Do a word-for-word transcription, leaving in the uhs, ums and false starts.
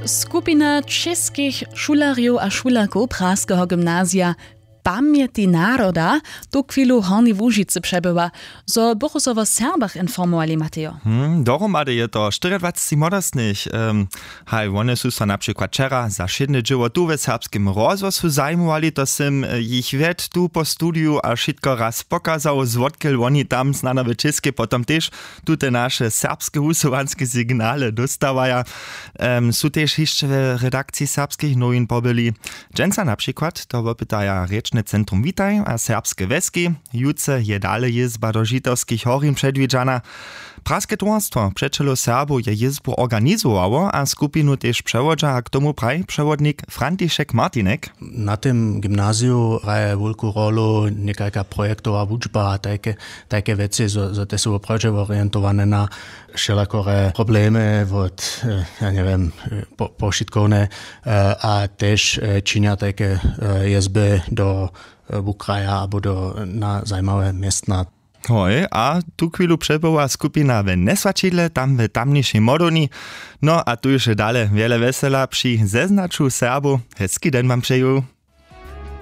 Skupina českich šulerjow a šulerkow Praskeho gymnazija Pamjeti naroda tuchwilu w Hornjej Łužicy přebywa. Zo bychu so wo Serbach informowali, Matejo. Hm, dohromady je to štyriadwaceći młodostnych. Haj, wone su so na přikład wčera za wšědne dźěło tu we serbskim rozhłosu zajimowali, to sym jich wjedł tu po studiju a wšitko raz pokazał, zwotkel woni tam snano w Českej potom tež tute naše serbske wusyłanske signale dóstawaja. Su tež hišće w redakciji Serbskich nowin pobyli. Dźensa na přikład to wopytaja rěčne centrum Witaj a serbske wjeski. Jutře je dale jězba do žitawskich horin předwidźana. Praske towarstwo přećelow Serbow je jězbu organizowało a skupinu tež přewodźa, a k tomu praji přewodnik František Martinek. Na tym gymnaziju hraje wulku rolu někajka projektowa wučba a tajke wěcy, zo te su woprawdźe orientowane na wšelakore problemy wot, ja njewěm, powšitkowne, a tež činja tajke jězby do wukraja abo do na zajimawe městna. Hoj, a tuchwilu přebywa skupina w njeswaćidle tam w tamnišej modowni. No a tu je dale wjele wjesela při zeznaću Serbow. Hezki den wam přeju.